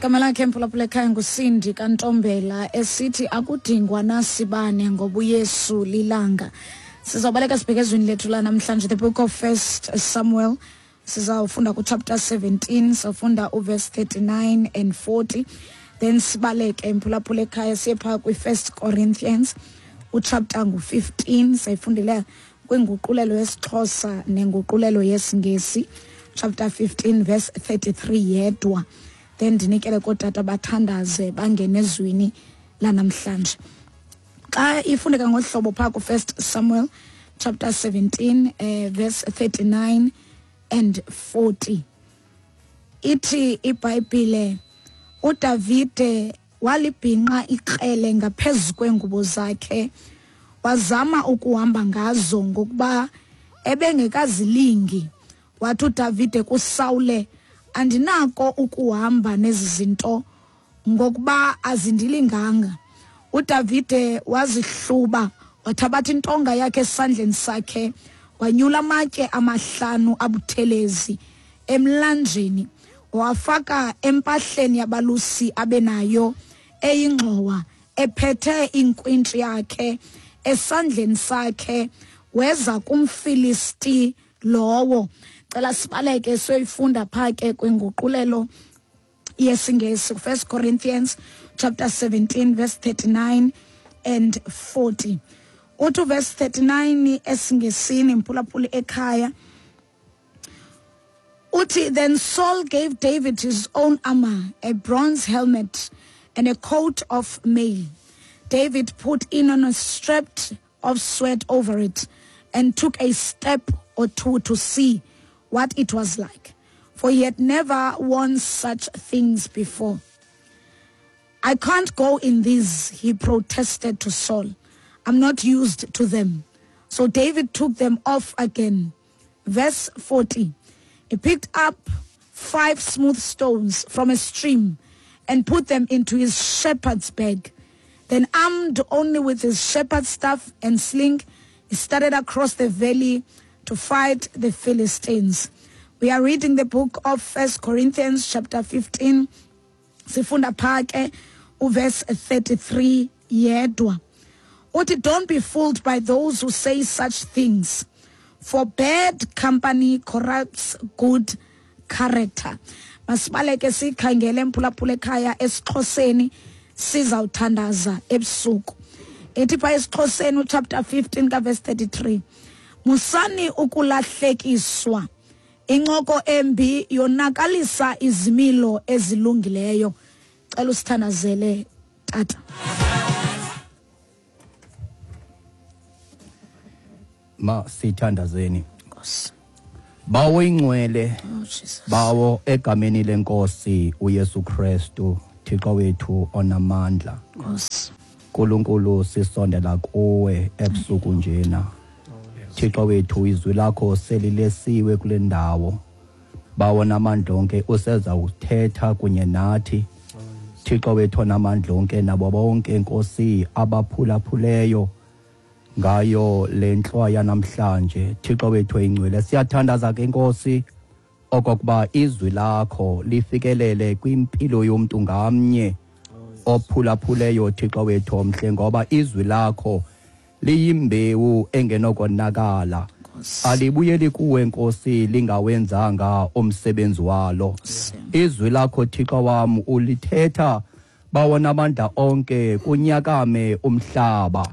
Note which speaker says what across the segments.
Speaker 1: Gama lakhe mphulaphula ekhaya nguSindi kaNtombela esithi akudingwa nasibane ngoba uYesu lilanga. Sizawubaleka sibheke ezwini lethu lanamhlanje, the book of First Samuel. Sizawufunda kuchapter 17, sawufunda uverse 39 and 40, then sibaleke mphulaphula ekhaya siye phaa kwi-First Corinthians uchapter ngu-15, sayifundile kwinguqulelo yesiXhosa nenguqulelo yesiNgesi, chapter 15 verse 33 yedwa. Then ndinikele kootata bathandaze bangene ezwini lanamhlanje. Xa ifundeka ngohlobo phaa ku-First Samuel chapter 17 verse 39 and 40, ithi iBhayibhile uDavide walibhinqa ikrele ngaphezu kweengubo zakhe, wazama ukuhamba ngazo ngokuba ebengekazilingi. Wathi uDavide kuSawule, andinako ukuhamba nezi zinto ngokuba azindilinganga. uDavide wazihluba, wathabatha intonga yakhe esandleni sakhe, wanyula amatye amahlanu abuthelezi emlanjeni, wafaka empahleni yabalusi abenayo eyingxowa, ephethe inkwintshi yakhe esandleni sakhe, weza kumFilisti lowo. Cela sibaleke siyoyifunda phaa ke kwinguqulelo yesiNgesi, 1 Corinthians chapter 17 verse 39 and 40. Uthi verse 39 esiNgesini mphulaphuli ekhaya, uthi, then Saul gave David his own armor, a bronze helmet and a coat of mail. David put in on a strap of sweat over it and took a step or two to see what it was like, for he had never worn such things before. I can't go in these, he protested to Saul. I'm not used to them. So David took them off again. Verse 40, he picked up 5 smooth stones from a stream and put them into his shepherd's bag. Then, armed only with his shepherd's staff and sling, he started across the valley to fight the Philistines. We are reading the book of 1 Corinthians chapter 15. Sifunda phake uverse 33 yedwa. Uthi, don't be fooled by those who say such things, for bad company corrupts good character. Masibaleke sikhangele mphulaphula ekhaya esiXhoseni, sizawuthandaza ebusuku. Ithi pha esiXhoseni uchapter 15 kaverse 33, musani ukulahlekiswa, incoko embi yonakalisa izimilo ezilungileyo. Cela usithandazele tata.
Speaker 2: Ma sithandazeni. Nkosi. Bawo ingcwele,
Speaker 1: Oh Jesus.
Speaker 2: Bawo egameni lenkosi uYesu Kristu, Thixo wethu onamandla.
Speaker 1: Nkosi.
Speaker 2: Nkulunkulu sisondela kuwe ebusuku njena. Thixo wethu izwi lakho selilesiwe kule ndawo. Bawo namandla onke useza uthetha kunye nathi. Thixo wethu onamandla onke nabo bonke Nkosi abaphulaphuleyo ngayo le ntlwa namhlanje. Thixo wethu ingcwele, siyathandaza ke Nkosi okokuba izwi lakho lifikelele kwimpilo yomntu ngamnye ophulaphuleyo Thixo wethu omhle, ngoba izwi lakho liyimbewu engenokonakala, alibuyeli kuwe Nkosi lingawenzanga umsebenzi walo. Izwi lakho Thixo wam ulithetha Bawo namandla onke kunyakame umhlaba.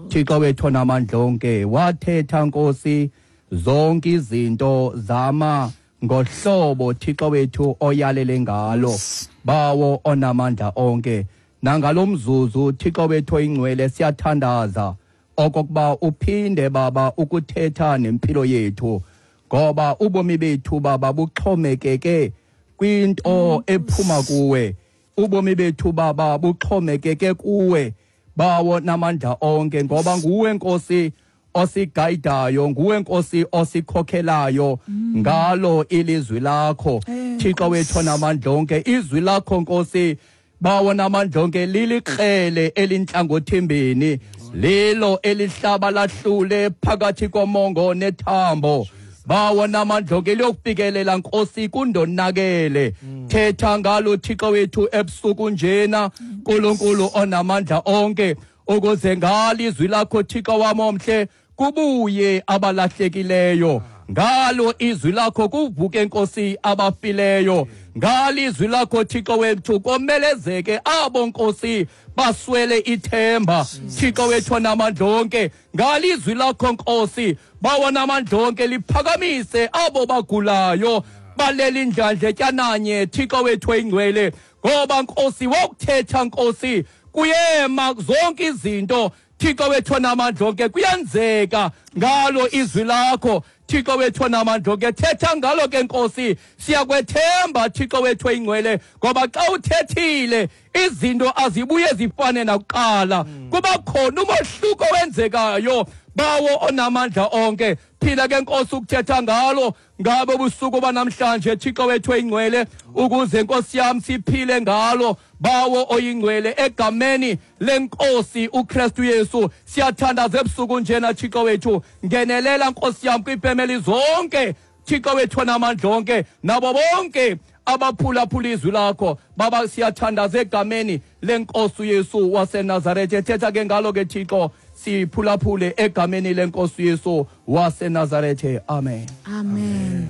Speaker 2: Thixo wethu namandla onke wathetha Nkosi zonke izinto zama ngohlobo Thixo wethu oyalele ngalo. Bawo onamandla onke, nangalomzuzu Thixo wethu oyingcwele siyathandaza okokuba uphinde Baba ukuthetha nempilo yethu, ngoba ubomi bethu Baba buxhomekeke kwinto ephuma kuwe. Ubomi bethu Baba buxhomekeke kuwe Bawo namandla onke, ngoba nguwe Nkosi osigayidayo, nguwe Nkosi osikhokhelayo ngalo ilizwi lakho. Thixo wethu namandla onke, izwi lakho Nkosi Bawo namandla onke lilikrele elintlangothimbini, lilo elihlaba lahlule phakathi komongo nethambo. Bawo namandla onke, liyokufikelela Nkosi kundonakele. Thetha ngalo Thixo wethu ebusuku njena, Nkulunkulu onamandla onke, ukuze ngalo izwi lakho Thixo wam omhle kubuye abalahlekileyo. Ngalo izwi lakho kuvuke Nkosi abafileyo. Ngalo izwi lakho Thixo wethu komelezeke abo Nkosi baswele ithemba. Thixo wethu onamandla onke, ngalo izwi lakho Nkosi bawo namandla onke liphakamise abo bagulayo baleli indlandle tyananye Thixo wethu oyingcwele, ngoba Nkosi wokuthetha Nkosi kuyema zonke izinto. Thixo wethu onamandla onke, kuyenzeka ngalo izwi lakho Thixo wethu onamandla onke. Thetha ngalo ke Nkosi, siyakwethemba Thixo wethu oyingcwele, ngoba xa uthethile izinto azibuye zifane nakuqala, kuba khona umohluko wenzekayo. Bawo onamandla onke, phila ke Nkosi ukuthetha ngalo ngabe ubusuku banamhlanje Thixo wethu oyingcwele, ukuze Nkosi yam siphile ngalo. Bawo oyingcwele, egameni lenkosi uKristu Yesu siyathandaza ebusuku njena Thixo wethu, ngenelela Nkosi yam kwiifemeli zonke Thixo wethu onamandla onke, nabo bonke abaphulaphula izwi lakho. Baba, siyathandaza egameni lenkosi uYesu waseNazaretha. Thetha ke ngalo ke Thixo, siphulaphule egameni lenkosi uYesu waseNazaretha. Amen.
Speaker 1: Amen.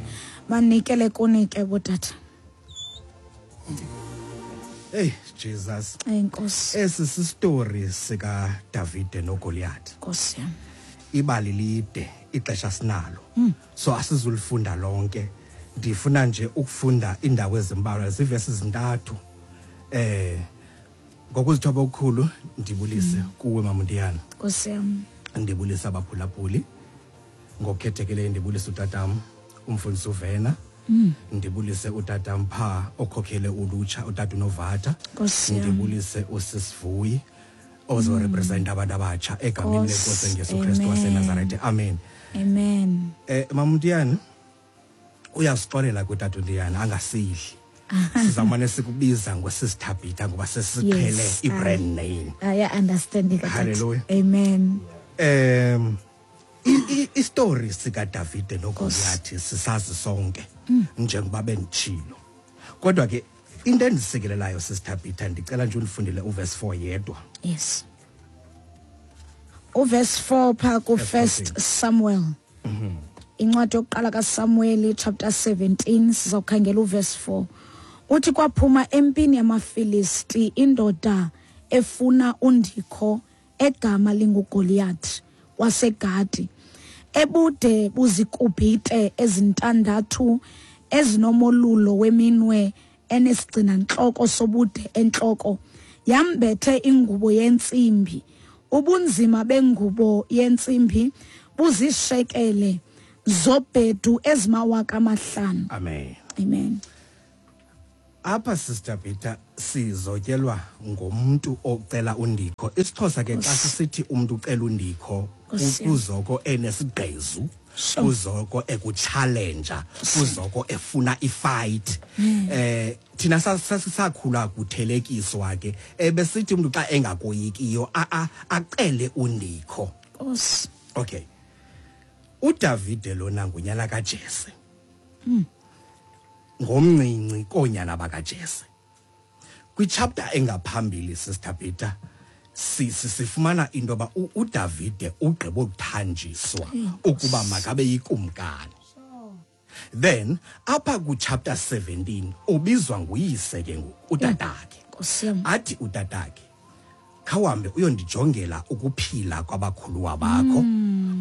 Speaker 1: Manikele kuni ke botata.
Speaker 3: Hey Jesus.
Speaker 1: Enkosi.
Speaker 3: Esi sistory sika Davide noGoliath.
Speaker 1: Nkosi yam.
Speaker 3: Ibali lide, ixesha sinalo. So asizulifunda lonke. Ndifuna nje ukufunda indawo ezimbalwa, zivesi ezintathu. Ngokuzithoba okukhulu ndibulise kuwe Mamundiyana.
Speaker 1: Nkosi yam.
Speaker 3: Ndibulise abaphulaphuli. Ngokukhethekileyo ndibulise utatam umfundisi uVena. Ndibulise utatam pha okhokhele ulutsha utata uNovata. Ndibulise usisivuyi ozorepresent abantu abatsha egameni lenkosi Jesu Kristu waseNazaretha. Amen.
Speaker 1: Amen.
Speaker 3: Mamundiyana uyasixolela kutata uNdiyana angasidli. Sizamane sikubiza ngosisithabhitha ngoba sesiqhele i-brand name.
Speaker 1: I understand it.
Speaker 3: Hallelujah.
Speaker 1: Amen.
Speaker 3: I-story sika Davide noGoliath sisazi sonke njengoba benditshilo. Kodwa ke into endisikelelayo sisithabhitha, ndicela nje undifundele uverse 4 yedwa.
Speaker 1: Yes. Uverse 4 pha ku First Samuel. Incwadi yokuqala kaSamuel chapter 17 sizokhangela uverse 4. Uthi kwaphuma empini yamaFilisti indoda efuna undikho egama linguGoliath waseGati, ebude buzikubhite ezintandathu ezinomolulo weminwe enesigcinantloko sobude entloko, yambethe ingubo yentsimbi. Ubunzima bengubo yentsimbi buzishekele zobhedu ezimawaka 5.
Speaker 3: Amen.
Speaker 1: Amen.
Speaker 3: Apha Sister Peter sizotyelwa ngomntu ocela undikho. IsiXhosa ke xa sisithi umuntu ucela undikho kuzoko enesigqezu, kuzoko ekuchallenge, kuzoko efuna ifight. Thina sakhula kuthelekiswa ke ebesithi umuntu xa engakoyikiyo acele undikho. Okay. uDavide lona ngunyana kaJese. Ngomncinci konyana bakaJese. Kwichapter engaphambili Sister Peter sifumana into yoba uDavide ugqiba ukuthanjiswa ukuba makabe yikumkani. Then apha ku chapter 17 ubizwa nguyise ke ngoku utatakhe. Athi utatakhe khawuhambe uyondijongela ukuphila kwabakhuluwa bakho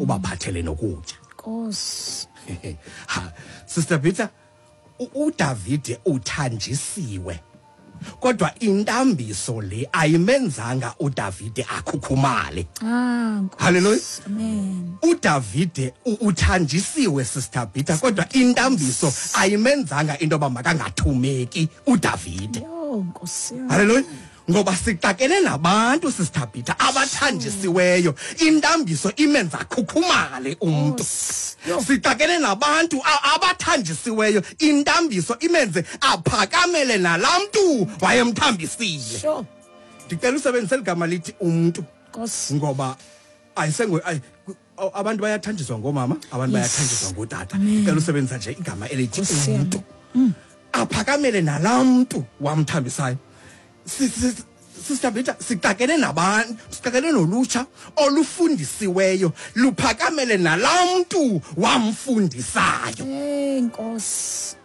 Speaker 3: ubaphathele nokutya.
Speaker 1: Nkosi.
Speaker 3: Sister Peter uDavide uthanjisiwe, kodwa intambiso le ayimenzanga uDavide akhukhumale. Hallelujah.
Speaker 1: Amen.
Speaker 3: uDavide uthanjisiwe Sister Peter, kodwa intambiso ayimenzanga into yoba makangathumeki uDavide.
Speaker 1: Nkosi.
Speaker 3: Hallelujah. Ngoba sixakene nabantu Sister Peter abathanjisiweyo, intambiso imenza khukhumale umuntu. Sixakene nabantu abathanjisiweyo, intambiso imenze aphakamele nalamntu Abantu bayathanjiswa ngoomama, abantu bayathanjiswa ngootata. Cela usebenzisa nje igama elithi umntu. Aphakamele nalaa mntu wamthambisayo. Sister Peter, sixakene nabantu, sixakene nolutsha olufundisiweyo, luphakamele nalaa mntu wamfundisayo.
Speaker 1: Hey Nkosi.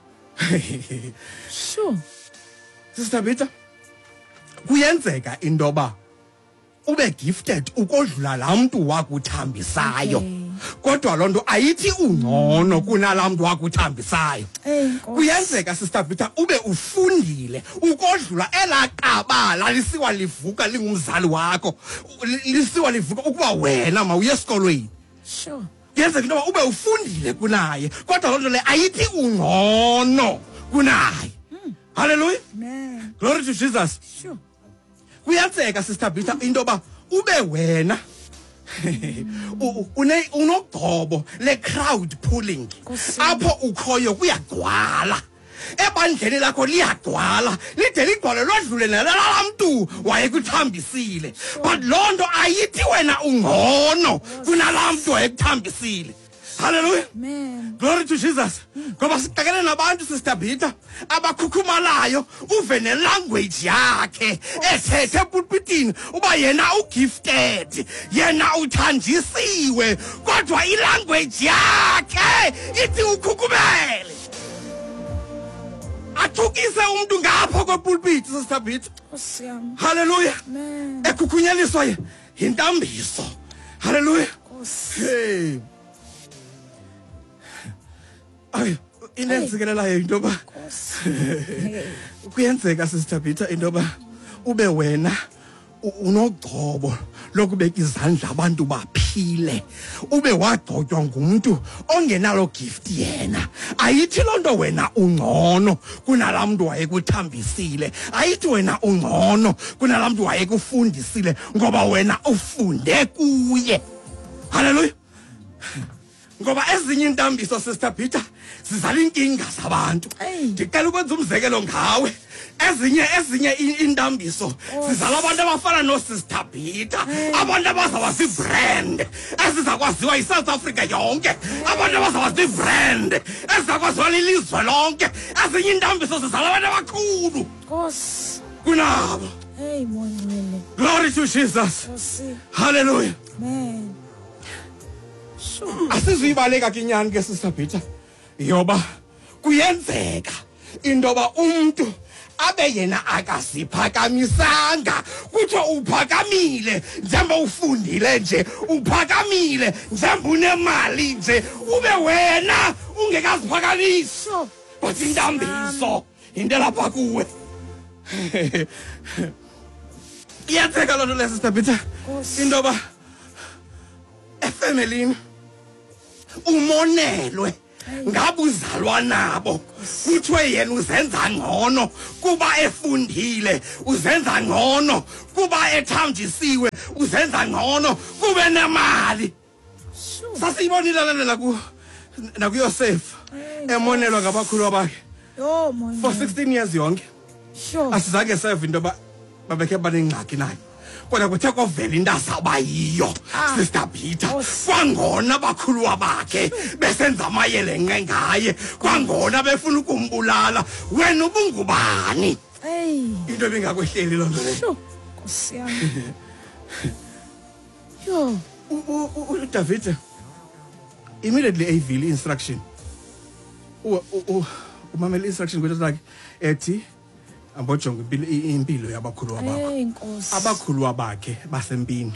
Speaker 1: Sure.
Speaker 3: Sister Peter, kuyenzeka into yoba ube gifted ukodlula laa mntu wakuthambisayo. Kodwa loo nto ayithi ungcono kunalaa mntu wakuthambisayo. Kuyenzeka, Sister Peter, ube ufundile ukodlula elaa qabala lisiwa livuka lingumzali wakho, lisiwa livuka ukuba wena mawuye esikolweni.
Speaker 1: Sure.
Speaker 3: Kuyenzeka into yoba ube ufundile kunaye, kodwa loo nto leyo ayithi ungcono kunaye. Hallelujah.
Speaker 1: Amen.
Speaker 3: Glory to Jesus.
Speaker 1: Sure.
Speaker 3: Kuyenzeka, Sister Peter, into yoba ube wena unogcobo le-crowd pulling. Apho ukhoyo kuyagcwala. Ebandleni lakho liyagcwala, lide ligcwale lodlule nalaa mntu wayekuthambisile. But loo nto ayithi wena ungcono kunalaa mntu wayekuthambisile. Hallelujah.
Speaker 1: Amen.
Speaker 3: Glory to Jesus. Ngoba sixakene nabantu, Sister Peter, abakhukhumalayo, uve nelanguage yakhe ethethe epulpitini uba yena ugifted, yena uthanjisiwe, kodwa ilanguage yakhe ithi ukhukhumele. Athukise umuntu ngapha kwepulpiti, Sister Peter.
Speaker 1: Nkosi yam.
Speaker 3: Hallelujah.
Speaker 1: Amen.
Speaker 3: Ekhukhunyeliswa yintambiso. Hallelujah.
Speaker 1: Nkosi.
Speaker 3: Hey. Ay, into enditsikelelayo into yoba kuyenzeka, Sister Peter, into yoba ube wena unogcobo lokubeka izandla abantu baphile, ube wagcotywa ngumntu ongenalo gift yena. Ayithi loo nto wena ungcono kunalaa mntu wayekuthambisile, ayithi wena ungcono kunalaa mntu wayekufundisile, ngoba wena ufunde kuye. Hallelujah. Ngoba ezinye intambiso, Sister Peter, sizala inkinga zabantu. Ndicela ukwenza umzekelo ngawe. Ezinye intambiso sizala abantu abafana noSister Peter, abantu abazawuba zii-brand ezizakwaziwa yiSouth Africa yonke, abantu abazawuba zii-brand ezizakwaziwa lilizwe lonke. Ezinye intambiso sizala abantu abakhulu
Speaker 1: Nkosi.
Speaker 3: kunabo.
Speaker 1: Hey, Mongcwele.
Speaker 3: Glory to Jesus.
Speaker 1: Nkosi.
Speaker 3: Hallelujah.
Speaker 1: Amen.
Speaker 3: Asizuyibaleka ke inyani ke, Sister Peter, yoba kuyenzeka into yoba umntu abe yena akasiphakamisanga, kuthiwa uphakamile njengoba ufundile nje, uphakamile njengoba unemali nje, ube wena ungekaziphakamisi. But intambiso into elapha kuwe. Iyenzeka loo nto leyo, Sister Peter, into yoba efemelini umonelwe ngabuzalwa nabo, kuthiwe yena uzenza ngcono kuba efundile, uzenza ngcono kuba ethanjisiwe, uzenza ngcono kube nemali. Sasiyibonile le nto nakuYosef, emonelwa ngabakhulu bakhe for 16 years yonke. Asizange seva into yoba babekhe banengxaki naye, kodwa kuthe kovela into azawuba yiyo, Sister Peter, kwangona abakhuluwa bakhe besenza amayelenqe ngaye, kwangona befuna ukumbulala. Wena ubungubani? Into ebingakwehleli loo nto leyo.
Speaker 1: Nkosi yam. Yho.
Speaker 3: uDavid immediately eyivile i-instruction, umamela i-instruction kwento lakhe ethi ambojonga impilo yabakhuluwa bakho.
Speaker 1: Hey, Nkosi.
Speaker 3: Abakhuluwa bakhe basempini,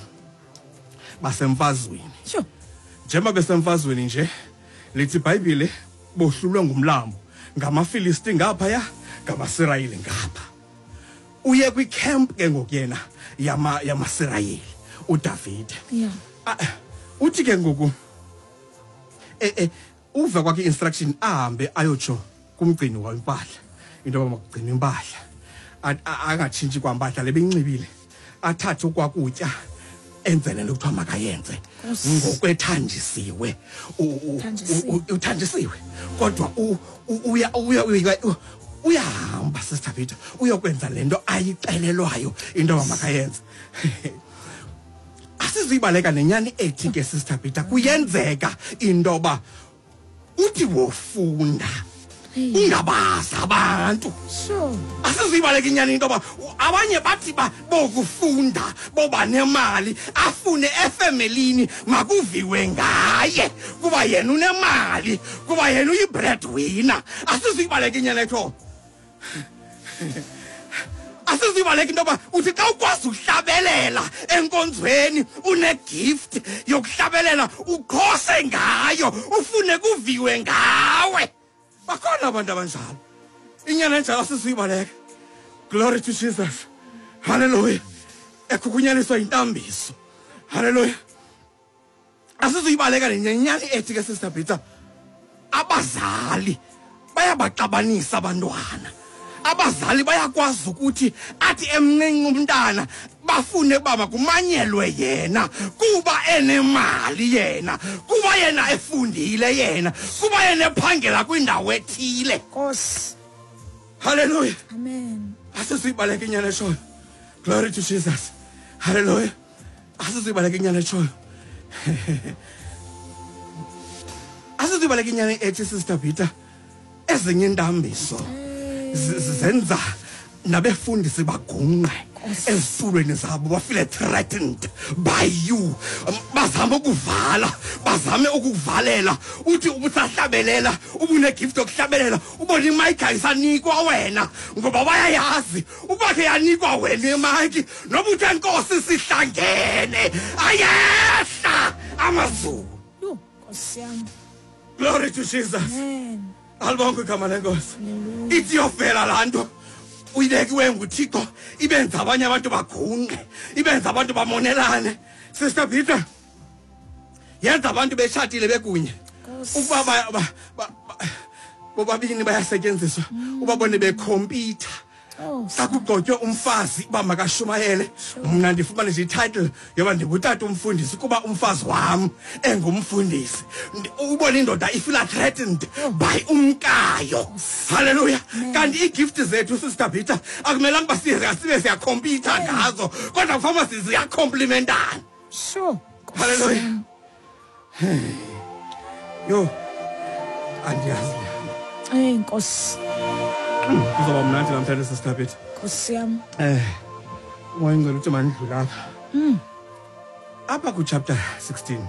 Speaker 3: basemfazweni.
Speaker 1: Sure.
Speaker 3: Njengoba besemfazweni nje, lithi iBhayibhile bohlulwe ngumlambo, ngamaFilisti ngaphaya, ngamaSirayeli ngapha. Uye kwicamp ke ngoku yena yamaSirayeli uDavid. Uthi ke ngoku uva kwakhe instruction ahambe ayotsho kumgcini wempahla, into yoba makugcinwe impahla, angatshintshi kwampahla le beyinxibile, athathe okwakutya enze le nto kuthiwa makayenze ngokwethanjisiwe. Uthanjisiwe, kodwa uyahamba, Sister Peter, uyokwenza le nto ayixelelwayo into yoba makayenze. Asizuyibaleka nenyani ethi ke, Sister Peter, kuyenzeka into yoba uthi wofunda ungabazi abantu. Asizuyibaleka inyani into yoba abanye bathi bokufunda boba nemali, afune efemelini makuviwe ngaye kuba yena unemali, kuba yena uyi-breadwinner. Asizuyibaleka inyani etho. Asizibaleka into yoba uthi xa ukwazi ukuhlabelela enkonzweni, une-gift yokuhlabelela, uqhose ngayo, ufune kuviwe ngawe. Bakhona abantu abanjalo. Inyani enjalo asizuyibaleka. Glory to Jesus. Hallelujah. Ekhukhunyaniswa yintambiso. Hallelujah. Asizuyibaleka nenyani ethi ke, Sister Peter, abazali bayabaxabanisa abantwana. Abazali bayakwazi ukuthi athi emncinci umntana bafune uba makumanyelwe yena kuba enemali yena, kuba yena efundile yena, kuba yena ephangela kwindawo ethile.
Speaker 1: Nkosi.
Speaker 3: Hallelujah.
Speaker 1: Amen.
Speaker 3: Asizuyibaleka inyani eshoyo. Glory to Jesus. Hallelujah. Asizuyibaleka inyani eshoyo. Asizuyibaleka inyani ethi, Sister Peter, ezinye intambiso zenza nabefundisi bagungqe ezitulweni zabo, bafile threatened by you. Bazame ukuvala, bazame ukukuvalela. Uthi ubusahlabelela, ubune-gift yokuhlabelela, ubone imayikhi ayisanikwa wena, ngoba bayayazi ukuba ke yanikwa wena imayikhi, noba uthe Nkosi sihlangene, ayehla amazulu.
Speaker 1: Yho, Nkosi yam.
Speaker 3: Glory to Jesus.
Speaker 1: Amen.
Speaker 3: Alibonke igama lenkosi.
Speaker 1: Hallelujah.
Speaker 3: Ithi yofela laa nto uyibekiwe nguThixo, ibenza abanye abantu bagungqe, ibenza abantu bamonelane. Sister Peter, yenza abantu betshatile bekunye
Speaker 1: Nkosi.
Speaker 3: ukuba bobabini bayasetyenziswa, ubabone bekhompyutha.
Speaker 1: Oh,
Speaker 3: Xa kugcotywe umfazi uba makashumayele, mna ndifumane nje i-title yoba ndingutata umfundisi kuba umfazi wam engumfundisi. Ubone indoda ifila threatened by umkayo. Halleluya. Kanti ii-gift zethu, Sister Peter, akumelanga uba sibe siyakhompyutha ngazo, kodwa kufanele uba ziyakhomplimentana.
Speaker 1: Nkosi
Speaker 3: Hallelujah.
Speaker 1: yam.
Speaker 3: Yho, andiyazi.
Speaker 1: Ey, Nkosi.
Speaker 3: Kuzoba mnandi namhlanje, Sister Peter.
Speaker 1: Nkosi yam.
Speaker 3: Umoya ingcwele uthi mandidlule apha. Apha ku-chapter 16,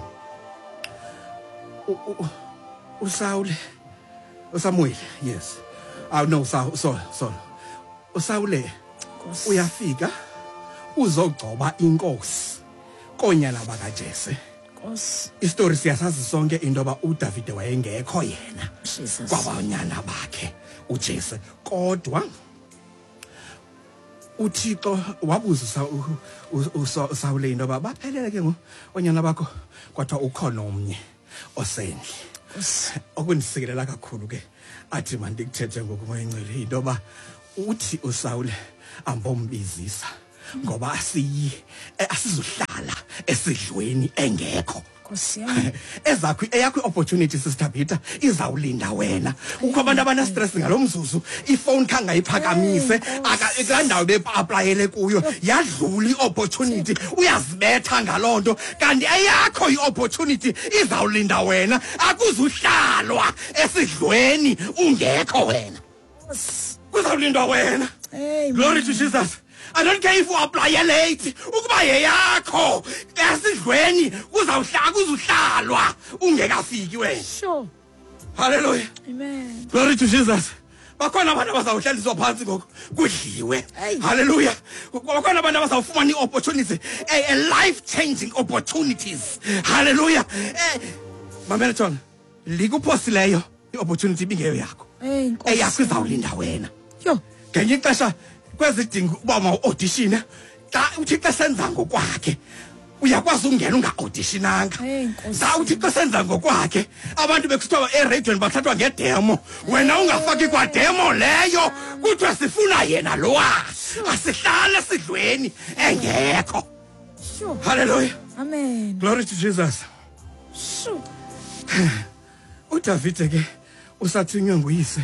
Speaker 3: uSawule, uSamuel, yes. Ah no, Saul, Saul, Saul. uSawule
Speaker 1: Nkosi.
Speaker 3: uyafika uzogcoba inkosi konyana bakaJese.
Speaker 1: Nkosi.
Speaker 3: Isitori siyasazi sonke into yoba uDavide wayengekho yena
Speaker 1: Jesus.
Speaker 3: kwabanyana bakhe uJese, kodwa uThixo wabuza uSawule into yoba baphelele ke ngoku oonyana bakho, kwathiwa ukhona omnye osendle.
Speaker 1: Nkosi.
Speaker 3: Okundisikelela kakhulu ke athi mandikuthethe ngoku, Moya Ingcwele, yinto yoba uthi uSawule ambombizisa ngoba asizuhlala esidlweni engekho.
Speaker 1: Nkosi yam.
Speaker 3: Ezakho, eyakho i-opportunity, Sister Peter, izawulinda wena. Kukho abantu abana-stress ngalo mzuzu, ifowuni khange ayiphakamise kulaa ndawo beaplayele kuyo, yadlula i-opportunity, uyazibetha ngaloo nto. Kanti eyakho i-opportunity izawulinda wena, akuzuhlalwa esidlweni ungekho wena.
Speaker 1: Nkosi.
Speaker 3: Kuzawulindwa wena.
Speaker 1: Amen.
Speaker 3: Glory to Jesus. I don't care if you apply late, ukuba yeyakho esidlweni kuzuhlalwa ungekafiki wena. Hallelujah.
Speaker 1: Amen.
Speaker 3: Glory to Jesus. Bakhona abantu abazawuhlaliswa phantsi ngoku kudliwe.
Speaker 1: Hey.
Speaker 3: Hallelujah. Bakhona abantu abazawufumana ii-opportunities, a life changing opportunities. Hallelujah. Mamela jonga, likuphosileyo i-opportunity ibingeyo yakho.
Speaker 1: Hey, Nkosi.
Speaker 3: Eyakho izawulinda wena.
Speaker 1: Yho.
Speaker 3: Ngenye ixesha kwezidingo uba mawu-auditione, xa uThixo esenza ngokwakhe uyakwazi ukungena unga-auditionanga.
Speaker 1: Hey, Nkosi.
Speaker 3: Xa uThixo esenza ngokwakhe, abantu bekusithiwa ereyidweni bathathwa ngedemo, wena ungafaki kwademo leyo, kuthiwa sifuna yena lowa, asihlale esidlweni engekho. Hallelujah.
Speaker 1: Amen.
Speaker 3: Glory to Jesus. uDavide ke usathunywe nguyise.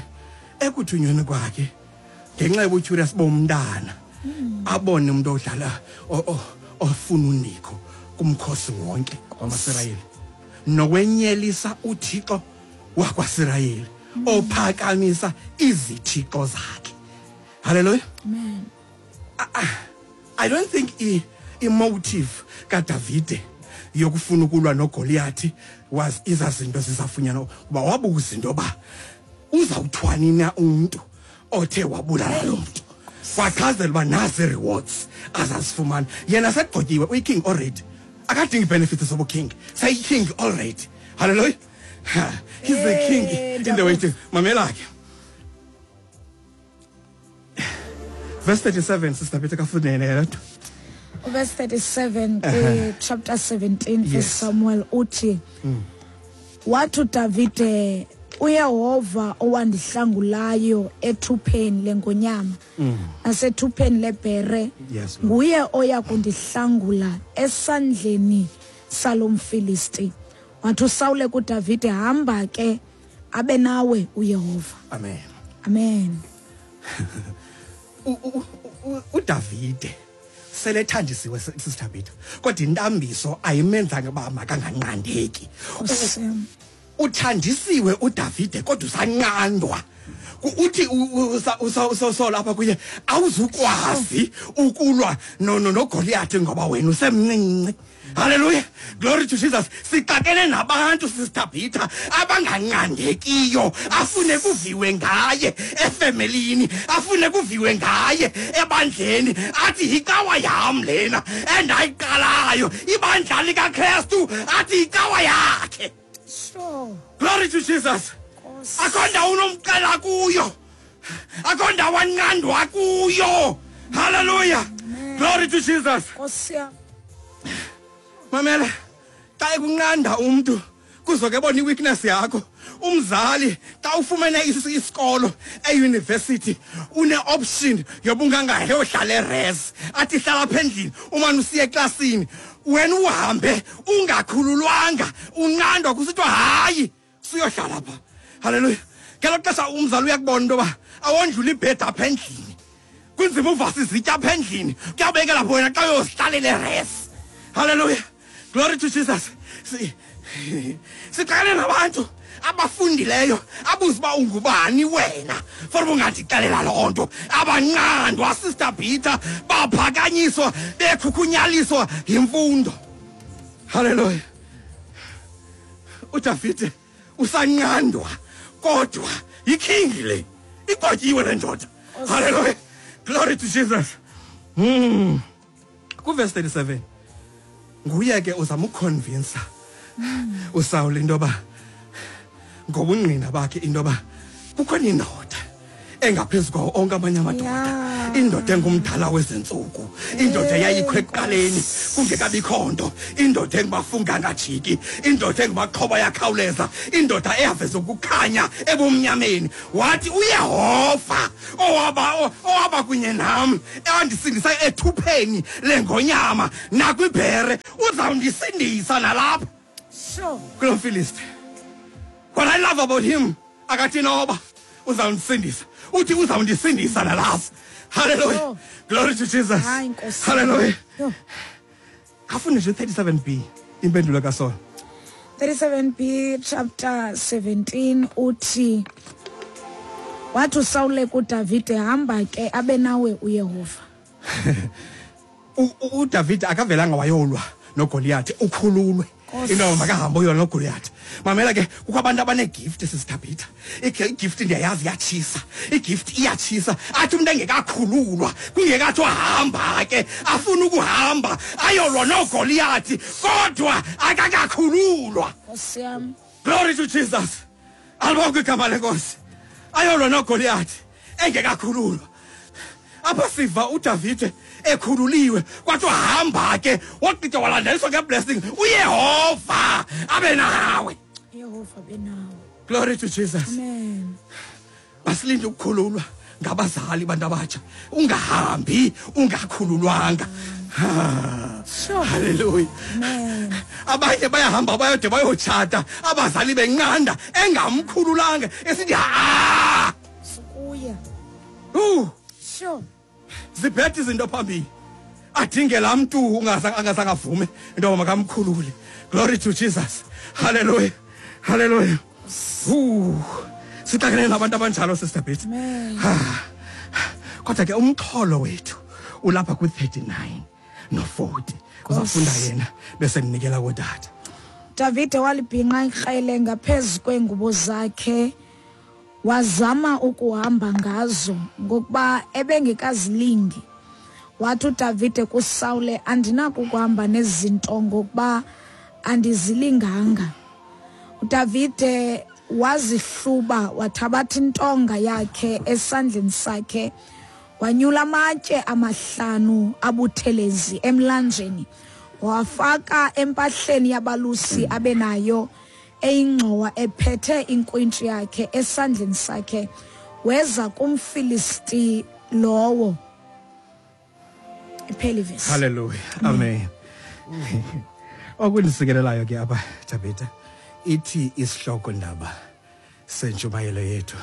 Speaker 3: Ekuthunyweni kwakhe, ngenxa yobucurious bomntana, abone umuntu odlala ofuna unikho. kumkhosi wonke wamaSirayeli nowenyelisa uThixo wakwaSirayeli ophakamisa izithixo zakhe. Hallelujah.
Speaker 1: Amen.
Speaker 3: I don't think i-motive kaDavide yokufuna ukulwa noGoliathi was izazinto zizafunyanwa, kuba wabuza into yoba uzawuthwani na umntu othe wabulala lo mntu. Wachazela uba nazi rewards azazifumana. Yena segqotyiwe, uyi-king already, akadingi benefits zobu-king, seyi-king already. Hallelujah. He's the king in the waiting. Mamela ke verse 37, Sister Peter, kafunene le nto.
Speaker 1: Verse 37 kwi-chapter 17 First Samuel uthi, wathi uDavide, uYehova owandihlangulayo ethupheni lengonyama nasethupheni lebhere,
Speaker 3: Yes, Lord.
Speaker 1: nguye oya kundihlangula esandleni salo mFilisti. Wathi uSawule kuDavide, hamba ke, abe nawe uYehova.
Speaker 3: Amen.
Speaker 1: Amen.
Speaker 3: uDavide selethanjisiwe, Sister Peter, kodwa intambiso ayimenzanga uba makanganqandeki.
Speaker 1: Nkosi yam.
Speaker 3: Uthanjisiwe uDavide kodwa usanqandwa. Uthi uSawulo apha kuye, awuzukwazi ukulwa noGoliath ngoba wena usemncinci. Hallelujah, glory to Jesus. Sixakene nabantu, Sister Peter, abanganqandekiyo, afune kuviwe ngaye efemelini, afune kuviwe ngaye ebandleni, athi yicawa yam lena endayiqalayo, ibandla likaKrestu, athi yicawa yakhe. Glory to Jesus.
Speaker 1: Nkosi.
Speaker 3: Akho ndawo unomxela kuyo, akho ndawo anqandwa kuyo. Hallelujah, glory to Jesus.
Speaker 1: Nkosi yam.
Speaker 3: Mamela, xa ekunqanda umntu kuzoke bona i-weakness yakho. Umzali xa ufumene isikolo eyunivesithi, une-option yoba ungangahe ohlala e-res, athi hlala apha endlini umane usiya eklasini, wena uhambe ungakhululwanga, unqandwa kusithiwa hayi, suyohlala pha. Halleluya. Ngelo xesha umzali uyakubona into yoba awondlula ibhedi apha endlini, kunzima uvasa izitya apha endlini, kuyabekela lapho wena xa uyozihlalela e-res. Halleluya, glory to Jesus. Sixakene nabantu abafundileyo abuza uba ungubani wena for uba ungandixelela loo nto. Abanqandwa, Sister Peter, baphakanyiswa bekhukhunyaliswa yimfundo. Halleluya. uDavide usanqandwa kodwa yi-king le, igotyiwe le ndoda. Halleluya, glory to Jesus. Kuvesi 37 nguye ke uzama ukuconvinsa uSawuli into yoba ngobungqina bakhe into yoba kukhona indoda engaphezu kwawo onke amanye amadoda, indoda engumdala wezentsuku, indoda eyayikho ekuqaleni kungekabikho nto, indoda engubafunga angajiki, indoda engumaxhoba yakhawuleza, indoda eyaveza ukukhanya ebumnyameni. Wathi uYehova owaba kunye nam, ewandisindisa ethupheni lengonyama nakwibhere, uzawundisindisa nalapha kulo Filisti. What I love about him, akathi noba uzawundisindisa, uthi uzawundisindisa nalapha. Hallelujah. Glory to Jesus.
Speaker 1: Hayi, Nkosi.
Speaker 3: Hallelujah.
Speaker 1: Yho.
Speaker 3: Afunde nje 37b, impendulo kaSaul.
Speaker 1: 37b chapter 17 uthi, wathi uSawule kuDavide, hamba ke, abe nawe uYehova.
Speaker 3: uDavid akavelanga wayolwa noGoliath, ukhululwe
Speaker 1: Nkosi.
Speaker 3: into yoba makahambe uyolwa noGoliath. Mamela ke, kukho abantu abanegift, Sister Peter. Igift ndiyayazi iyatshisa, igift iyatshisa. Athi umntu engekakhululwa, kungekathiwa hamba ke, afuna ukuhamba ayolwa noGoliath kodwa akakakhululwa.
Speaker 1: Nkosi yam.
Speaker 3: Glory to Jesus. Alibongwe igama lenkosi. Ayolwa noGoliath engekakhululwa. Apha siva uDavide ekhululiwe, kwathiwa hamba ke, wagqitha walandeliswa ngeblessing, uYehova abe nawe.
Speaker 1: Yehova abe nawe.
Speaker 3: Glory to Jesus.
Speaker 1: Amen.
Speaker 3: Basilinde ukukhululwa ngabazali, bantu abatsha. Ungahambi ungakhululwanga. Hallelujah.
Speaker 1: Amen.
Speaker 3: Abanye bayahamba bayode bayotshata, abazali benqanda engamkhululanga, esithi ha.
Speaker 1: Sukuya.
Speaker 3: Zibhethe izinto phambili. Adinge laa mntu angazange avume into yoba makamkhulule. Glory to Jesus. Hallelujah. Hallelujah. Sixakene nabantu abanjalo, Sister Betty. Kodwa ke umxholo wethu ulapha kwi-39 no-40. Uzawufunda yena bese ndinikela kootata.
Speaker 1: Davide walibhinqa ikrele ngaphezu kweengubo zakhe, wazama ukuhamba ngazo ngokuba ebengekazilingi. Wathi uDavide kuSawule, andinako ukuhamba nezinto ngokuba andizilinganga. uDavide wazihluba, wathabatha intonga yakhe esandleni sakhe, wanyula amatye 5 abuthelezi emlanjeni, wafaka empahleni yabalusi abenayo eyingxowa, ephethe inkwintshi yakhe esandleni sakhe, weza kumFilisti lowo. Ipheli ivesi.
Speaker 3: Hallelujah. Amen. Okundisikelelayo ke apha, Tabitha, ithi isihloko ndaba sentshumayelo yethu,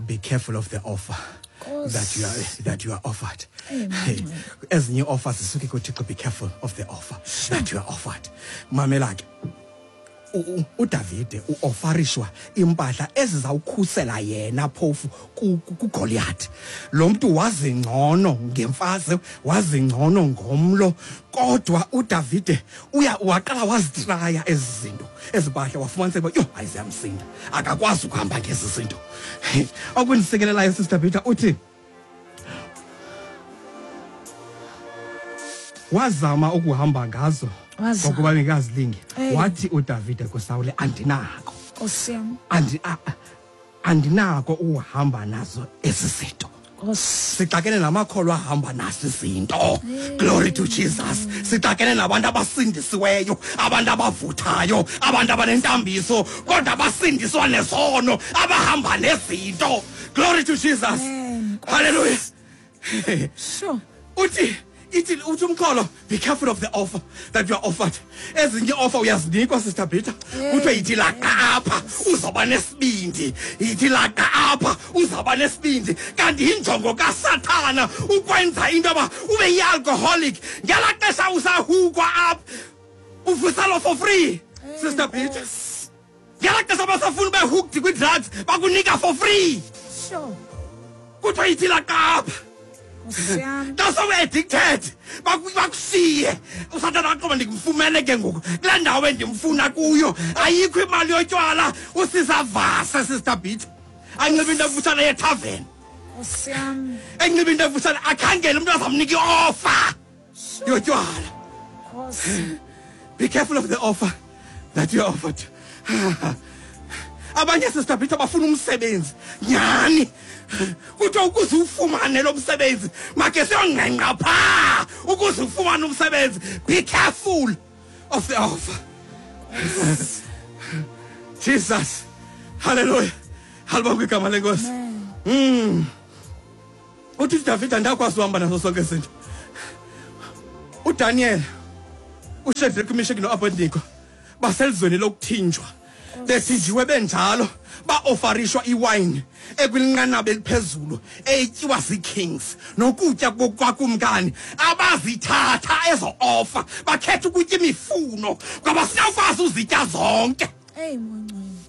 Speaker 3: be careful of the offer that you are offered. Ezinye offers zisuke kuThixo, be careful of the offer that you are offered. Mamela ke, uDavide uofarishwa impahla ezizawukhusela yena phofu kuGoliath. Lo mntu wazi ngcono ngemfazwe, wazi ngcono ngomlo, kodwa uDavide uya waqala wazitraya ezi zinto, ezi mpahla, wafumaniseka uba yho, hayi, ziyamsinda, akakwazi ukuhamba ngezi zinto. Okundisikelelayo, Sister Peter, uthi wazama ukuhamba ngazo ngokuba bengekazilingi. Wathi uDavide kuSawule, andinako.
Speaker 1: Nkosi yam.
Speaker 3: Andinako ukuhamba nazo ezi zinto. Sixakene namakholwa ahamba nazo izinto. Glory to Jesus. Sixakene nabantu abasindisiweyo, abantu abavuthayo, abantu abanentambiso, kodwa abasindiswa nesono, abahamba nezinto. Glory to Jesus.
Speaker 1: Amen.
Speaker 3: Hallelujah.
Speaker 1: Sure.
Speaker 3: Uthi, ithi, uthi umxholo, be careful of the offer that you are offered. Ezinye offer uyazinikwa, Sister Peter. Kuthiwe yithi laqa apha, uzawuba nesibindi. Yithi laqa apha, uzawuba nesibindi. Kanti yinjongo kaSathana ukwenza into yoba ube yi-alcoholic. Ngelaa xesha usahukwa apha, uvuselwa for free, Sister Peter. Ngelaa xesha basafuna ube hooked kwi-drugs, bakunika for free. Kuthiwa yithi laqa apha. Xa sowu-addicted, bakushiye. Usathana aqoba ndimfumene ke ngoku kulaa ndawo endimfuna kuyo. Ayikho imali yotywala, usisavase, Sister Peter. Anxibe into emfutshane yethaveni. Enxibe into emfutshane, akhangele umntu azamnika i-offer yotywala. Be careful of the offer that you are offered. Abanye, Sister Peter, bafuna umsebenzi nyhani. Kuthiwa ukuze ufumane lo msebenzi make siyongqengqa phaa ukuze ufumane umsebenzi. Be careful of the offer. Jesus. Hallelujah. Halibongwe igama lenkosi. Uthi uDavide andakwazi uhamba naso sonke izinto. uDaniel, uShadrach, uMeshach noAbednego baselizweni lokuthinjwa. Bethinjiwe benjalo, baofarishwa iwayini ekwinqanaba eliphezulu etyiwa zii-kings nokutya kwakumkani. Abazithatha ezo offer, bakhetha ukutya imifuno ngoba sinawukwazi uzitya zonke.
Speaker 1: Hey, Mongcwele.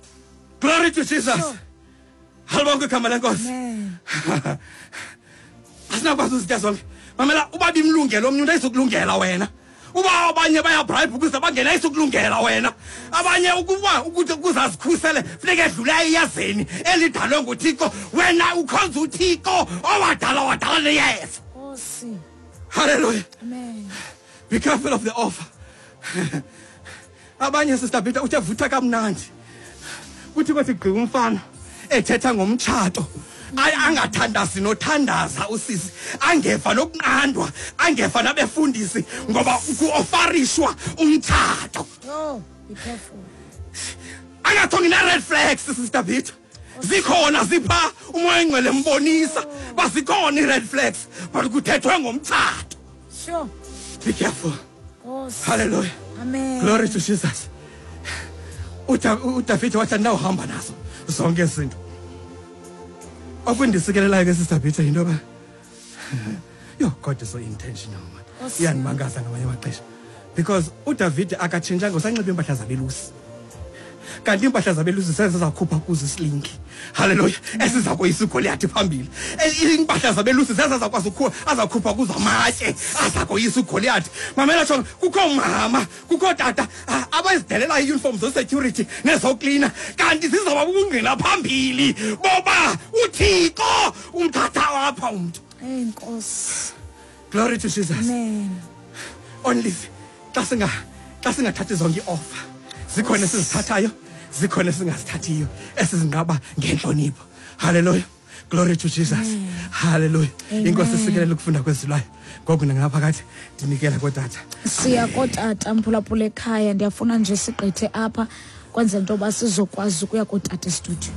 Speaker 3: Glory to Jesus. Halibongwe igama lenkosi.
Speaker 1: Amen.
Speaker 3: Asinakwazi uzitya zonke. Mamela, uba bimlungela omnye umntu ayizukulungela wena. Uba abanye bayabribe ukuze bangene ayizukulungela wena. Abanye ukuba ukuthi ukuze azikhusele funeka edlule eyezeni elidalwe nguThixo. Wena ukhonza uThixo owadala wadala neyeza.
Speaker 1: Nkosi.
Speaker 3: Hallelujah.
Speaker 1: Amen.
Speaker 3: Be careful of the offer. Abanye, Sister Peter, uthe vutha kamnandi. Kuthi kwathi gqi umfana ethetha ngomtshato. Angathandazi nothandaza usisi, angeva nokunqandwa, angeva nabefundisi ngoba kuofarishwa umtshato.
Speaker 1: Oh, be careful.
Speaker 3: Angathongi na red flags, Sister Peter. Zikhona zipha umoya engcwele mbonisa bazikhona i-red flags, but kuthethwe ngomtshato.
Speaker 1: Sure.
Speaker 3: Be careful.
Speaker 1: Nkosi.
Speaker 3: Hallelujah.
Speaker 1: Amen.
Speaker 3: Glory to Jesus. uDavide wathi andinawuhamba nazo zonke izinto. Okundisikelelayo ke, Sister Peter, yinto yoba Yo, God is so intentional, man. Iyandimangaza ngamanye amaxesha. Because uDavide akatshintshanga, usanxiba iimpahla zabelusi. Kanti iimpahla zabelusi zezakhupha kuzo isilingi. Haleluya. Esiza koyisa uGoliath phambili. Iimpahla zabelusi zezazakwazi azakhupha kuzo amatye aza koyisa uGoliath. Mamela tsho, kukho mama, kukho tata abazidelela ii-uniform zesecurity nezoklina, kanti zizawuba bubungqina phambili boba uThixo umthatha apha umntu.
Speaker 1: Hey Nkosi.
Speaker 3: Glory to Jesus.
Speaker 1: Amen.
Speaker 3: Only xa singathathi zonke ii-offer, zikhona esizithathayo, zikhona esingazithathiyo, esizinqaba ngentlonipho. Hallelujah. Glory to Jesus. Hallelujah. Inkosi isikelele ukufunda kwezilwayo. Ngoku ndingaphakathi ndinikela kootata.
Speaker 1: Siya kootata, mphulaphula ekhaya, ndiyafuna nje sigqithe apha kwenzela into yoba sizokwazi ukuya kootata estudio.